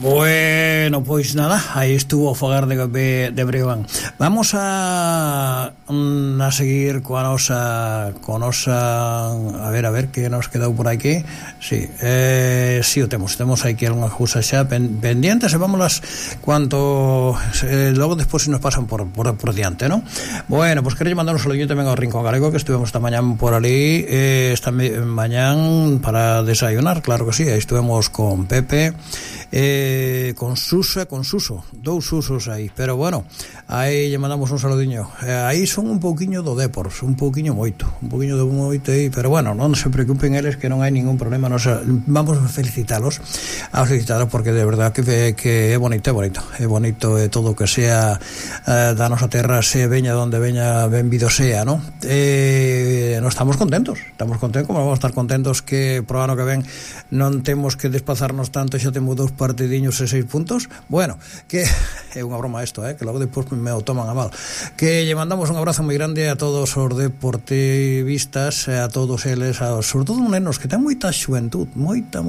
Bueno, pois nada, aí estuvo o fogar de Breogán. Vamos a seguir coa nosa a ver que nos quedou por aquí. Si, si o temos aquí algunha cousa xa pendientes e vámonos cuanto logo despois se nos pasan por diante, ¿no? Bueno, pois quero mandar un saludo tamén ao Rincón Galego, que estuvemos esta mañán por ali, esta mañán para desayunar, claro que sí, aí estuvemos con Pepe, con Suso, dous Susos aí, pero bueno, aí lle mandamos un saludiño. Aí son un pouquiño do Depor, un pouquiño moito aí, pero bueno, non se preocupen eles, que non hai ningún problema. Nos vamos a felicitalos porque de verdad que é bonito todo o que sea da nosa terra, se veña donde veña, benvido sea, ¿no? Nos estamos contentos, como vamos a estar contentos que pro ano que ven non temos que desplazarnos tanto, xa temos 2 partidiños e 6 puntos. Bueno, que é unha broma isto, que logo depois me o toman a mal. Que lle mandamos un abrazo moi grande a todos os deportivistas, a todos eles, sobre todo nenos que ten moita xuventud, moita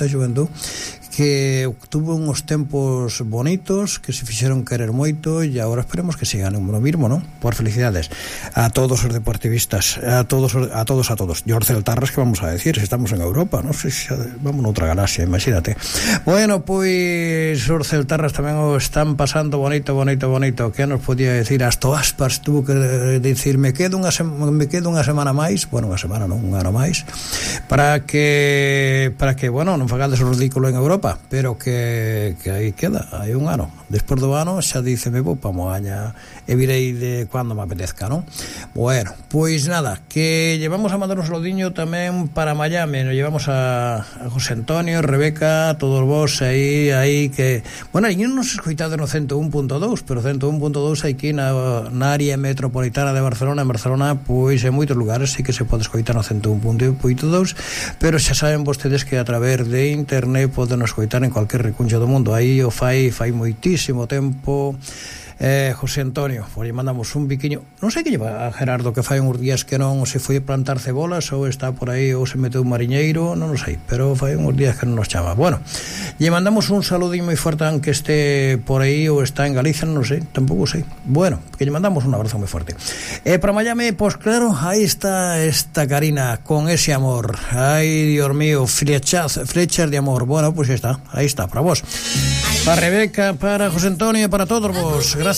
xuventud, que tuvo uns tempos bonitos, que se fixeron querer moito, e agora esperemos que sigan o mismo, ¿no? Por felicidades a todos os deportivistas, a todos. Jorge Tarras, que vamos a decir, se estamos en Europa, non sei se vamos noutra galaxia, imagínate. Bueno, pois Jorge Tarras tamén o están pasando bonito. Que nos podía decir? Hasta Aspas tuvo que decir, me quedo unha semana máis, bueno, unha semana non, un ano máis, para que bueno, non fagades o ridículo en Europa, pero que aí queda, hai un ano. Despois do ano xa dice, me vou pa Moaña e virei de cando me apetezca, non? Bueno, pois nada, que llevamos a mandar un saludiño tamén para Miami, nos llevamos a José Antonio, Rebeca, todos vos aí que, bueno, aí non nos escoitado no 101.2, pero 101.2 aquí na área metropolitana de Barcelona. En Barcelona, pois en moitos lugares sí que se pode escoitar no 101.2, pero xa saben vostedes que a través de internet poden escoitar en cualquier recuncho do mundo. Aí o fai moitísimo tempo José Antonio, por aí mandamos un biquiño, non sei que lleva a Gerardo, que fai uns días que non se foi a plantar cebolas, ou está por aí, ou se meteu un mariñeiro, non o sei, pero fai uns días que non nos chama. Bueno, lle mandamos un saludín moi forte, aunque este por aí ou está en Galicia, non sei, tampouco sei. Bueno, que lle mandamos un abrazo moi forte. Para Miami, pois claro, aí está esta Karina con ese amor. Ai, Dios mío, flechas de amor. Bueno, pois está, aí está, para vos, para Rebeca, para José Antonio, para todos vos. Gracias.